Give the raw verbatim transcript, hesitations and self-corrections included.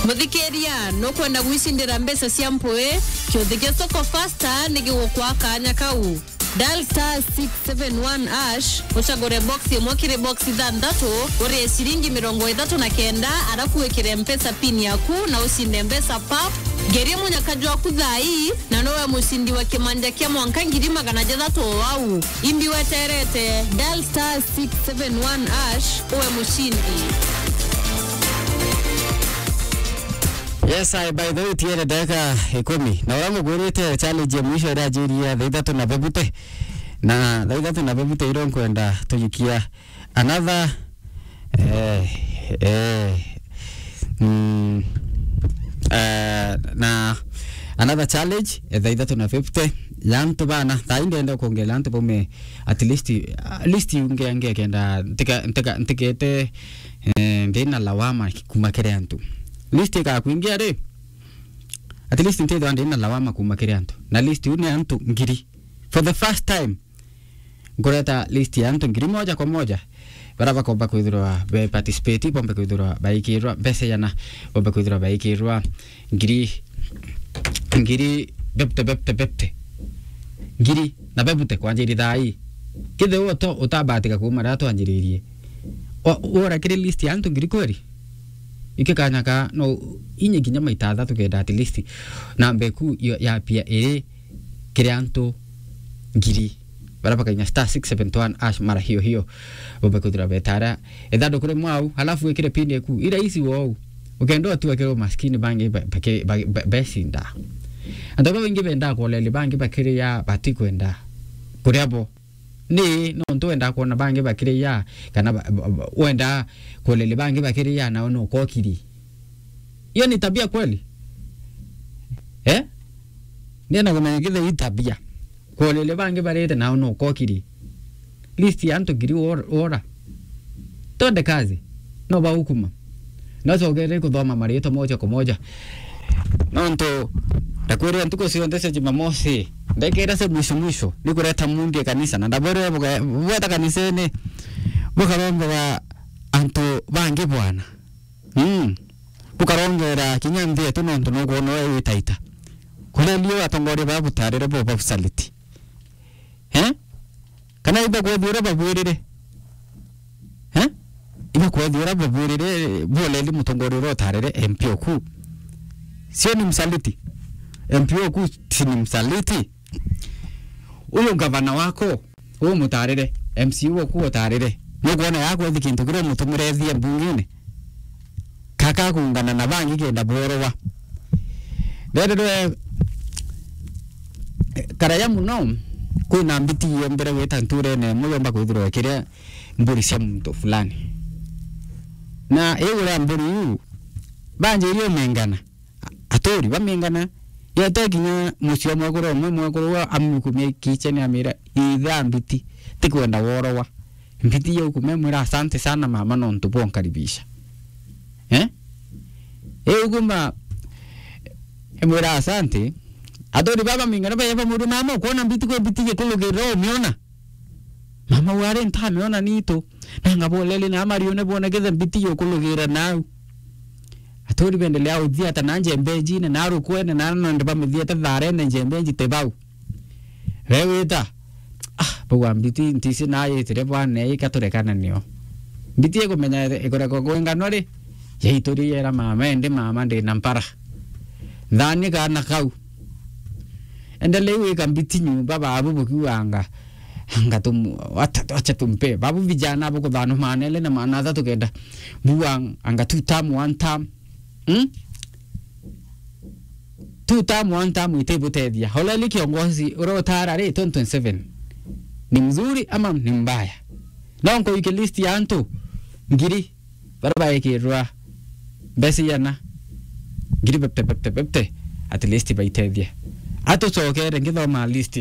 Muthikiria, nukwenda gwicindira mbeca cia mpui? Kiuthi gia Soko Fasta ni gigukwa kanya kau. Dial star six seven one hash, ucagure box imwe kiri box ithanthatu, urie ciringi mirongo ithatu na kenda, arafu wikire Mpesa pin yaku na ucinde mbeca pap. Ngerie munyaka jwaku thaa ii, na nowe mucindi wa kimanja kia mwanka ngiri magana jathatu o au. Imbi weterete, dial star six seven one hash, uwe mucindi. Yes, I, by the way, tiere ndagika ikumi. Na uria ngugwirite challenge ya mwisho iria njirie thaa ithatu na bebute. Na thaa ithatu na bebute iro nkwenda tujikia another, eh, eh, mm, eh, na another challenge, eh, thaa ithatu na fifty ya antu bana. Thaa ii ndenda kuongerera antu baume at least, at least unge, nge kenda ntika, ntika, ntikete, eh, ndina lawama kuma kiri antu. List ikakwingia ri, at least ntithwa ndina lawama kuma kiri antu. Na list iu ni antu ngiri. For the first time, nkureta list ya antu ngiri moja kwa moja, bara bakomba kwithirwa be participate, bombe kwithirwa baikirwa mbeca yana, bombe kwithirwa baikirwa ngiri, ngiri bebte, bebte, bebte. Ngiri na bebte kwanjiri thaa ii. Kethirwa uto-, utabatika kuma riria twanjiririe. O-, ura kiri list ya antu ngiri kweri? Iki kanya ka, no, inye kinya maita athatu kenda at least. Na mbeku yo ya pia iri kiri antu ngiri. Bara bakainya star six seven one hash mara hiyo hiyo. Bombe kwithirwa betara ithanduku rimwe au, halafu wikire pin eku. Ira isi wou. Ukenda utua kiri umaskini bangi ba-, baki-, ba-, ba-, becinda. Antu babaingi bendaa kuoleli bangi bakiria batikwenda kuria bo. Ni nontu wendaa kuona bangi bakiria, kana ba-, ba-, ba-, wendaa kuoleli bangi bakiria, nao nukokiri. Iyo ni tabia kweli? Eh? Ndienda kumenya kithei tabia. Kuolele bangi barite nao nukokiri. List ya antu ngiri wor-, wora. Twende kazi. No baukuma. No cogere kuthoma maritwa moja kwa moja. Nontu, ndakwirira ntuku cionthe cia Jumamosi, ndekera cia mwisho mwisho, ni kureta mundi kanisa. Na ndabwire buga-, bweta kanisene, bukarongera antu bangi bwana. Mm. Bukarongera kinya nthi yetu nontu nukwona we witaita. Kuria lio atongoria ba butarire bo babusaliti. Eh? Kana iba kwethira babwirire. Eh? Iba kwethira babwirire, buoleli mutongoria uria utarire M P oku. Sio ni msaliti. M P oku si ni msaliti. Uyu ngavana wako, umutarire, M C A waku utarire. Nukwona yakwethi kintu kiria umutumire ethie mbungine? Kaka kungana na bangi kenda bworowa. Rererwe, karaya muno, kwina mbiti yombere gwita nturene imwe yomba kwithirwa ikiria mburi cia muntu fulani. Na iu uria mburi iu, banjirie umengana. Aturi bamingana, yete kinya mucii wa mwekuru umwe, mwekuru uu amukumia kitchen amira, "Itha mbiti, tikwenda worowa." Mbiti yaukumia imwira, "Asante sana mama nontu bwa unkaribisha." Eh? Iu kuma imwira, "Asante." Aturi baba mingana baya bamuri, "Mama, ukwona mbiti kwi mbiti gikulugirira umiona?" Mama wari, "Ntamiona nitu." Nanga boleli na marione bone kethe mbiti yukulugira nau. Aturi bendelea uthiata na njembenjine, na rukwene, na nonde bamithiate tharene njembenji te bau. Bewita, "Ah, bau wa mbiti ntisi na yitire bwana ika turekana nio." Mbiti ikumenya ikurekwa kwingano ri, yaituri yera mama, "Indi mama ndina mpara. Thani kana kau." Endelei wika mbiti nyumba babu bukiuga anga, anga tum-, wacha, wacha tumpe. Babu vijana bukuthano manele na mana athatu kenda. Buga anga two term, one term. Hmm? Two term, one term itibutethia. Holeli kiongozi ura utara ri twenty twenty-seven. Ni mzuri ama ni mbaya? No nkuike list ya antu ngiri. Bara baikirwa mbeca iana, ngiri bebte, bebte, bebte, at least baitethia. Atucokere ngithoma list.